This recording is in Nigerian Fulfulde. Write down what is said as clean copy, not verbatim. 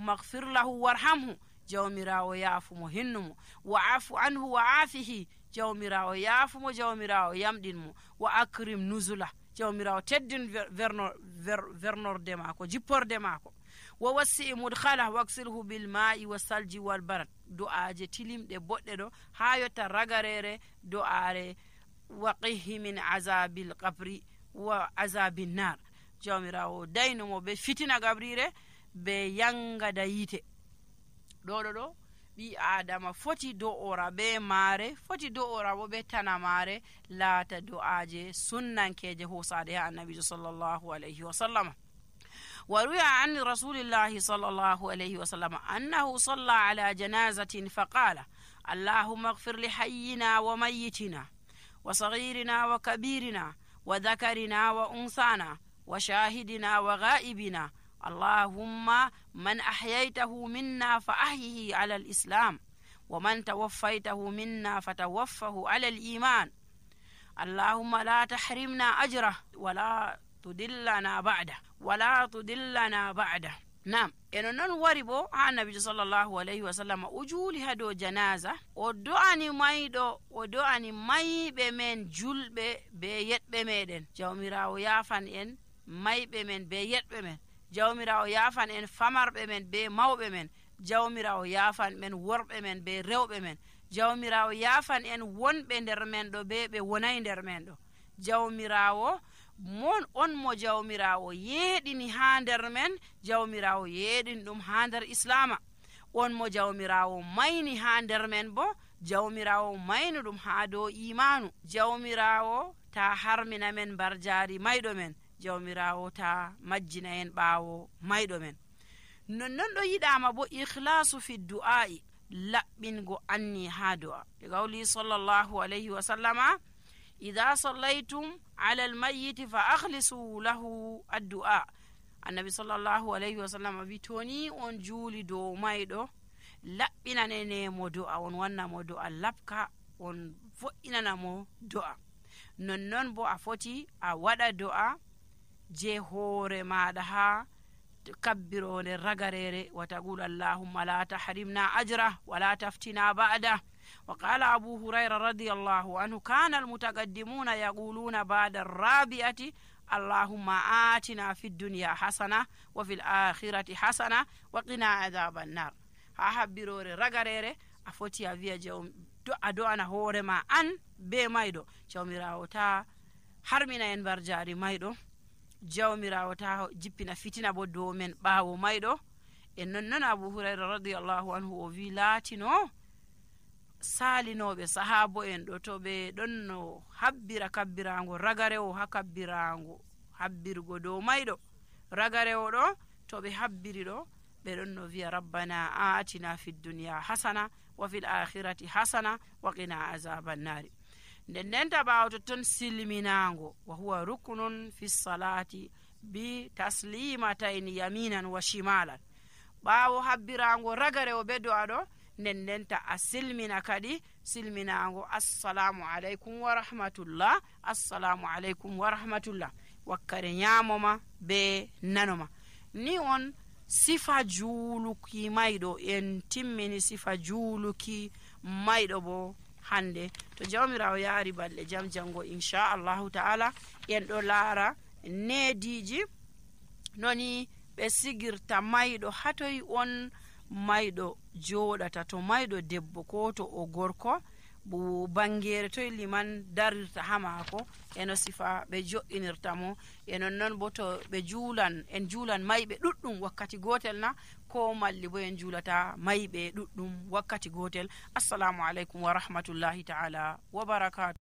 allahumma ighfir lahu warhamhu, jawmirawo yaafumo hinnumo, wa afu anhu wa afihi, jawmirawo yaafumo, jawmirawo yamɗinmo, wa akrim nuzula, jawmirawo teddin vernorde maako, jipporde maako, wa wassi mudkhala waksilhu bil ma'i wa salji wal barad. du'aje tilimɗe boɗɗe ɗo ha yotta ragarere du'are waqihi min azabil qabri wa azabin nar, jawmirawo daynumo be fitina gabrire be yangada yite. ɗo ɓi adama foti do'ora be maare, foti do'ora bo be tana maare, laata du'aje sunnankeje hosade ha annabijo sallallahu alayhi wa sallam. وروي عن رسول الله صلى الله عليه وسلم أنه صلى على جنازة فقال اللهم اغفر لحينا وميتنا وصغيرنا وكبيرنا وذكرنا وأنثانا وشاهدنا وغائبنا، اللهم من أحييته منا فأحيه على الإسلام، ومن توفيته منا فتوفه على الإيمان، اللهم لا تحرمنا أجره ولا تدلنا بعده. Nam eno non wari bo ha annabijo sallallahu alayhi wa sallam o juuli ha dow janaza, o do'ani mayɗo, o do'ani mayɓe men julɓe be yeɗɓe meɗen, jawmirawo yafan en mayɓe men be yeɗɓe men, jawmirawo yafan en famarɓe men be mawɓe men, jawmirawo yafan men worɓe men be rewɓe men, jawmirawo yafan en wonɓe nder men ɗo be ɓe wonayi nder men ɗo, jawmirawo mon on mo jawmirawo yeeɗini ha nder men, jawmirawo yeeɗini ɗum ha nder islama, on mo jawmirawo mayni ha nder men bo, jawmirawo mayni ɗum ha dow imanu, jawmirawo ta harmina men mbar jaari mayɗo men, jawmirawo ta majjina en ɓaawo mayɗo men. nonnon ɗo yiɗama bo ikhlasu fi du'a'i, laɓɓingo anni ha du'a, e gawli sallallahu alayhi wa sallama idha sallaytum ala almayyiti fa akhlisu lahu addu'a. annabi sallallahu alayhi wa sallam wi toni on juuli dow mayɗo, laɓɓinanenemo du'a, on wannamo du'a labka, on vo'inanamo du'a. nonnon bo a foti a waɗa du'a je hoore maɗa ha kabbirode ragarere, wa taqul allahumma la tahrimna ajra wa la taftina ba'da. وقال أبو هريرة رضي الله عنه كان المتقدمون يقولون بعد الرابعة اللهم آتنا في الدنيا حسنة وفي الآخرة حسنة وقنا عذاب النار. ها habbirore ragarere a foti a wiya do'ana hoore ma an be mayɗo, jawmirawo ta harmina en bar jaari mayɗo, jawmirawo ta jippina fitina bo dow men ɓaawo mayɗo. e nonnon Abu Hurayra radiyallahu anhu o wi laatino salinoɓe sahabo en ɗo to ɓe ɗon no habbira kabbirago ragarewo ha kabbirago habbirgo dow mayɗo, ragarewo ɗo to ɓe habbiri ɗo ɓe ɗon no wiya rabbana atina fi dunya hasana wa fil akhirati hasana wa qina azaban nari. nden ta ɓawo to ton silminago, wa huwa ruknun fi salati bi taslimatayn yaminan wa shimalan. ɓawo habbirago ragarewo be do'a ɗo, nden ta a silmina kadi silminago assalamu alaikum wa rahmatullah, assalamu alaikum wa rahmatullah, wakkare nyamoma be nanoma. ni on sifa juuluki mayɗo, en timmini sifa juuluki mayɗo bo hande. to jawmirawo yaari balɗe jam jango inchallahu ta'ala en ɗo laara neediji noni ɓe sigirta mayɗo hatoy on mayɗo joɗata, to mayɗo debbo ko to o gorko, bo bangere toy liman darirta ha maako, eno sifa ɓe jo'inirta mo. e nonnon bo to ɓe en juulan mayɓe ɗuɗɗum wakkati gotel na, ko malli bo en juulata mayɓe ɗuɗɗum wakkati gotel. assalamu alaikum wa rahmatullahi ta'ala wa barakatuh.